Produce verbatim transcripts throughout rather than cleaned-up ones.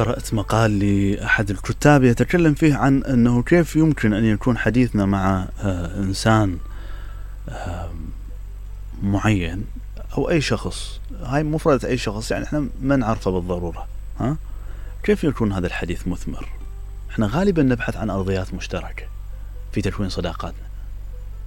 قرأت مقال لأحد الكتاب يتكلم فيه عن أنه كيف يمكن أن يكون حديثنا مع إنسان معين أو أي شخص، هاي مفردة أي شخص يعني إحنا ما نعرفه بالضرورة، ها؟ كيف يكون هذا الحديث مثمر؟ إحنا غالبا نبحث عن أرضيات مشتركة في تكوين صداقاتنا،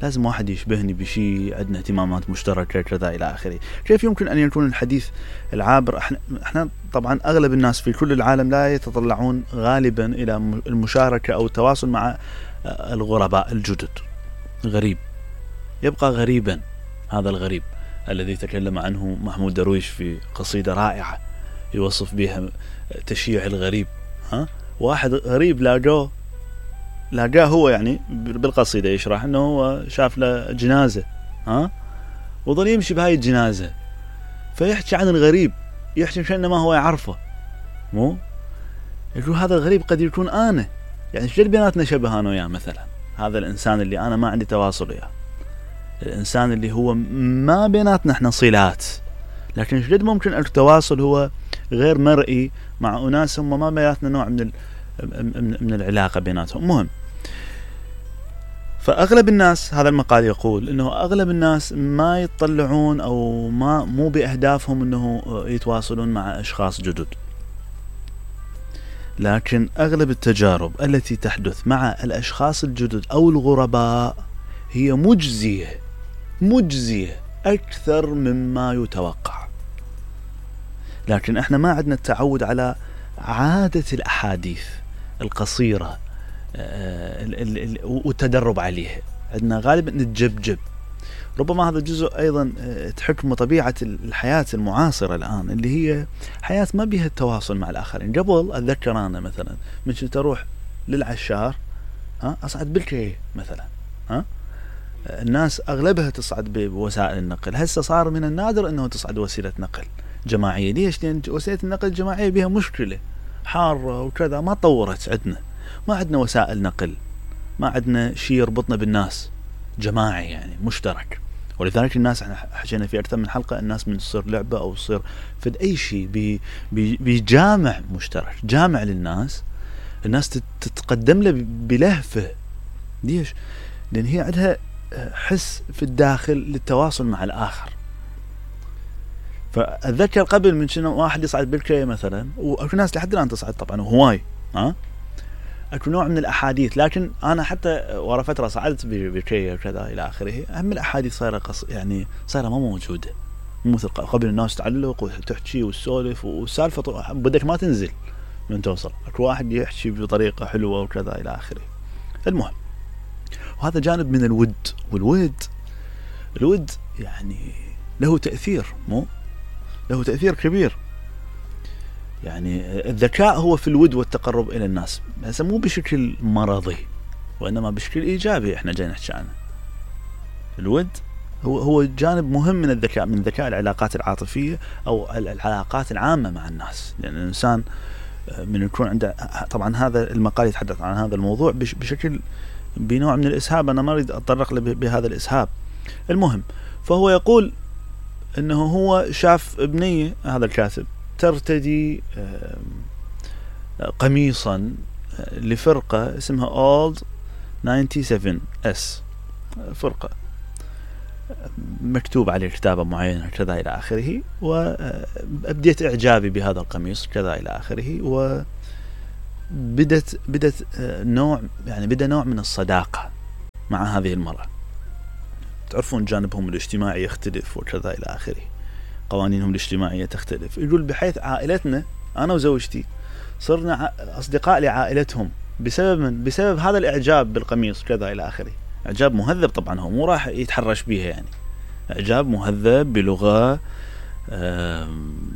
لازم واحد يشبهني بشيء، عندنا اهتمامات مشتركة كذا إلى آخره. كيف يمكن أن يكون الحديث العابر؟ إحنا, إحنا طبعا أغلب الناس في كل العالم لا يتطلعون غالبا إلى المشاركة أو التواصل مع الغرباء الجدد. غريب يبقى غريبا، هذا الغريب الذي تكلم عنه محمود درويش في قصيدة رائعة يوصف بها تشييع الغريب. ها؟ واحد غريب لاقوه لاقاه هو يعني بالقصيدة يشرح أنه هو شاف له جنازة، ها؟ وظل يمشي بهاي الجنازة فيحكي عن الغريب، يحكي كأنما هو يعرفه، مو يقول هذا الغريب قد يكون أنا، يعني شجد بيناتنا شبه أنا وياه مثلا، هذا الإنسان اللي أنا ما عندي تواصل وياه، الإنسان اللي هو ما بيناتنا احنا صلات، لكن شجد ممكن التواصل هو غير مرئي مع أناس هم ما بيناتنا نوع من من العلاقة بيناتهم. مهم، فأغلب الناس، هذا المقال يقول إنه أغلب الناس ما يتطلعون أو ما مو بأهدافهم إنه يتواصلون مع أشخاص جدد، لكن أغلب التجارب التي تحدث مع الأشخاص الجدد أو الغرباء هي مجزية مجزية أكثر مما يتوقع. لكن إحنا ما عندنا التعود على عادة الأحاديث القصيرة والتدرب عليها، عندنا غالبا نتجبجب. ربما هذا جزء أيضا تحكم طبيعة الحياة المعاصرة الآن، اللي هي حياة ما بها التواصل مع الآخرين. قبل أتذكر أنا مثلا من كنت أروح للعشار، ها، أصعد بالكي مثلا، ها، الناس أغلبها تصعد بوسائل النقل. هسه صار من النادر أنه تصعد وسيلة نقل جماعية. ليش؟ لأن وسيلة النقل الجماعية بها مشكلة حارة وكذا، ما طورت عندنا، ما عندنا وسائل نقل، ما عندنا شيء يربطنا بالناس جماعي يعني مشترك. ولذلك الناس احنا حكينا في أكثر من حلقة، الناس من تصير لعبة أو تصير فد أي شيء بي بي بجامع مشترك، جامع للناس، الناس تتقدم له بلهفة. ليش؟ لأن هي عندها حس في الداخل للتواصل مع الآخر. فأتذكر قبل من شنو واحد يصعد بالكرية مثلا، وأكو ناس لحد الآن تصعد طبعا وهواي، ها، أكو نوع من الأحاديث. لكن أنا حتى ورا فترة صعدت بالكرية وكذا إلى آخره، أهم الأحاديث صايرة قص يعني صايرة ما موجودة، مثل قبل الناس تعلق وتحكي والسولف والسالفة بدك ما تنزل من توصل، أكو واحد يحكي بطريقة حلوة وكذا إلى آخره. المهم، وهذا جانب من الود، والود الود يعني له تأثير، مو له تأثير كبير. يعني الذكاء هو في الود والتقرب إلى الناس، بس مو بشكل مرضي وإنما بشكل إيجابي. إحنا جاي نحكي عنه. الود هو هو جانب مهم من الذكاء، من ذكاء العلاقات العاطفية أو العلاقات العامة مع الناس. لأن الإنسان من يكون عنده، طبعا هذا المقال يتحدث عن هذا الموضوع بشكل بنوع من الإسهاب، أنا ما أريد أتطرق له بهذا الإسهاب. المهم، فهو يقول إنه هو شاف ابنية، هذا الكاتب، ترتدي قميصا لفرقة اسمها Old سبعة وتسعين إس، فرقة مكتوب عليه كتابة معينة كذا إلى آخره، وأبديت إعجابي بهذا القميص كذا إلى آخره، وبدت بدت نوع يعني بدأ نوع من الصداقة مع هذه المرأة. تعرفون جانبهم الاجتماعي يختلف وكذا إلى آخره، قوانينهم الاجتماعية تختلف. يقول بحيث عائلتنا أنا وزوجتي صرنا أصدقاء لعائلتهم بسبب من بسبب هذا الإعجاب بالقميص كذا إلى آخره. إعجاب مهذب طبعا، هو مو راح يتحرش بيها، يعني إعجاب مهذب بلغة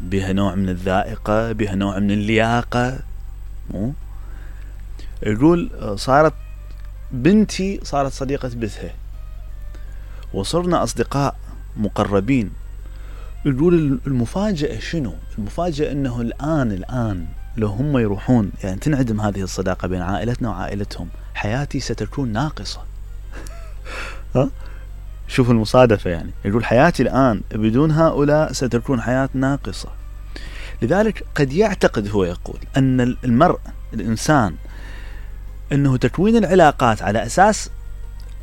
بها نوع من الذائقة، بها نوع من اللياقة. مو يقول صارت بنتي صارت صديقة بثها، وصرنا أصدقاء مقربين. يقول المفاجأة شنو؟ المفاجأة أنه الآن الآن لو هم يروحون، يعني تنعدم هذه الصداقة بين عائلتنا وعائلتهم، حياتي ستكون ناقصة. ها؟ شوف المصادفة يعني. يقول حياتي الآن بدون هؤلاء ستكون حياة ناقصة. لذلك قد يعتقد هو يقول أن المرء الإنسان أنه تكوين العلاقات على أساس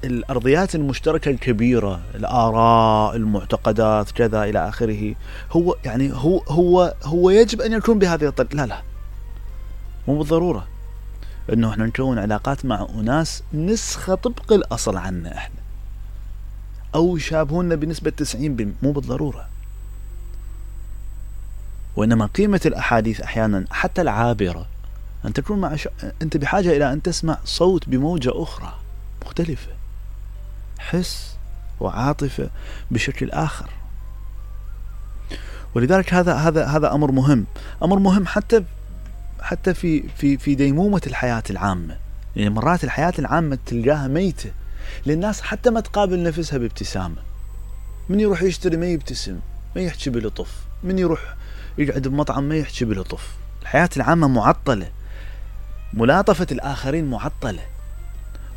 الأرضيات المشتركة الكبيرة، الآراء، المعتقدات، كذا إلى آخره، هو يعني هو هو هو يجب أن يكون بهذه الطريقة. لا لا، مو بالضرورة أنه إحنا نكون علاقات مع أناس نسخة طبق الأصل عنا إحنا، أو يشابهون بنسبة تسعين بالمئة، مو بالضرورة. وإنما قيمة الأحاديث أحيانا حتى العابرة أن تكون مع ش... أنت بحاجة إلى أن تسمع صوت بموجة أخرى مختلفة، حس وعاطفة بشكل آخر. ولذلك هذا هذا هذا أمر مهم، أمر مهم حتى حتى في في في ديمومة الحياة العامة. يعني مرات الحياة العامة تلقاها ميتة للناس، حتى ما تقابل نفسها بابتسامة. من يروح يشتري ما يبتسم، ما يحكي بلطف، من يروح يقعد بمطعم ما يحكي بلطف. الحياة العامة معطلة، ملاطفة الآخرين معطلة،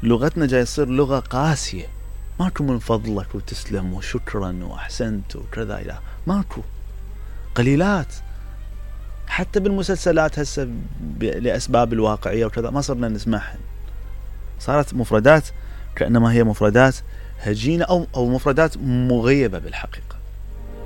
لغتنا جاي يصير لغة قاسية، ماكو من فضلك وتسلم وشكرا وأحسنت وكذا، إلى ماكو، قليلات. حتى بالمسلسلات هسه لأسباب الواقعية وكذا ما صرنا نسمعها، صارت مفردات كأنما هي مفردات هجينة أو أو مفردات مغيبة بالحقيقة.